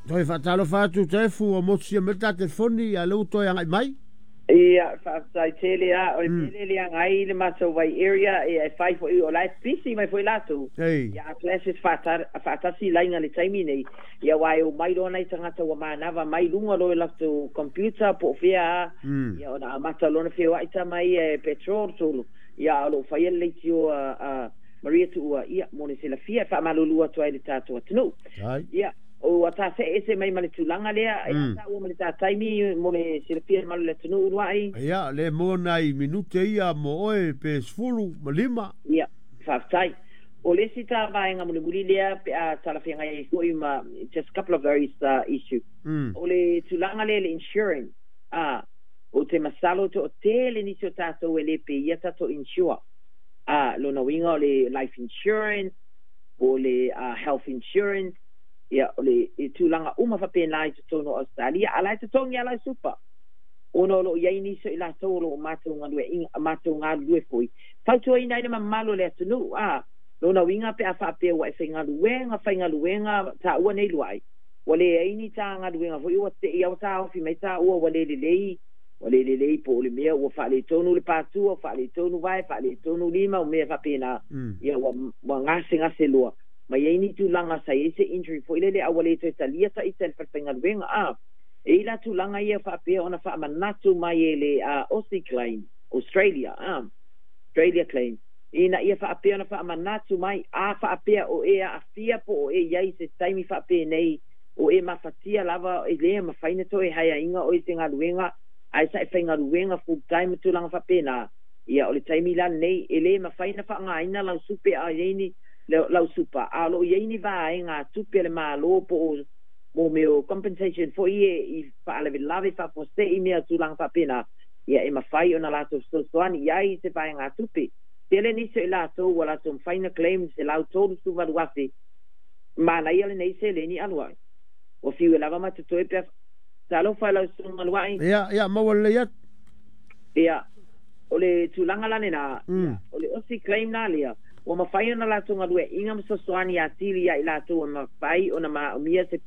Toe faatalofa atu Taefu, ua motusia mai le ta telefoni, a o lea ua toe agai mai. Ia, faafetai tele lava. O le mea lea e leaga ai le matou vai area, ia e fai foi, o la e pisi mai foi latou. Ia, a clashes faatasi laina i le taimi nei, ia aua e omai loa nai tagata ua manava mai luga loa i latou computer po o fea lava, ia ona amata loa ona feoai tama ia e patrol tolu, ia a o lo o faia le leitio a Maria Tuua, ia, mo le silafia, e faamalulu atu ai i le tatou atunuu. Ia, ua ta see ese mai ma le tulaga lea, e a taua ma le ta taimi mo le silafia e malu le atunuu uluai? Ia, le maua nai minute ia mo oe pe 15. Ia, faafetai. O le isi ta vaega mulimuli lea pe a talafeagai ai foi ma just couple of those issue. O le tulaga lea i le insurance, a, ou te masalo toatele nisi o tatou e le peia tatou insure. A, lona uiga o le life insurance, po o le health insurance, ia, o le tulaga uma faapena i totonu o Ausetalia, a o la e totogi lava lau supa. Ona o lo o i ai nisi o i latou o lo o matou galueaiina, matou galulue foi, fautuaina ai le mamalu o le atunuu, a, lona uiga pe a faapea ua e faigaluega, faigaluega, taua nei luai, ua leai ni ta galuega foi ua te i a ua taofi mai taua ua le lelei, ua le lelei po o le mea ua faaletonu le patua, ua faaletonu vae, faaletonu lima, o mea faapena, ia ua gasegase loa, ma i ai ni tulaga sa i ai se injury foi lele a ua le toe talia ta ita e le falefaigaluega. A e i la tulaga ia faapea ona faamanatu mai e le Aussie Claim, Australia, a Australia Claim, ina ia faapea ona faamanatu mai, a faapea o e aafia po o e i ai se taimi faapenei o e mafatia lava e le mafai ona toe haeaina oe i se galuega ae sa e faigaluega full time ma tulaga faapena, ia o le taimi la lenei e le mafai ona faaaogaina lau supe a i ai ni lau supa, a o lo o i ai ni vaega tupe a le Malo po o mo mea o compensation foi e i faalavelave faafuasei mea tulaga faapena, ia e mafai ona latou fesoasoani i ai se vaega tupe. Tele nisi o i latou ua latou mafai ona claim 138,000. Manaia lenei seleni alu ai. Ua fiu e lava ma totoe pe talofa i lau susuga Luai. Ia, maua lelei atu. Ia, o le tulaga la lena, ia, o le Aussie Claim la lea, ua mafai ona latou galueaiina ma fesoasoani atili ia i latou e mafai ona maomia se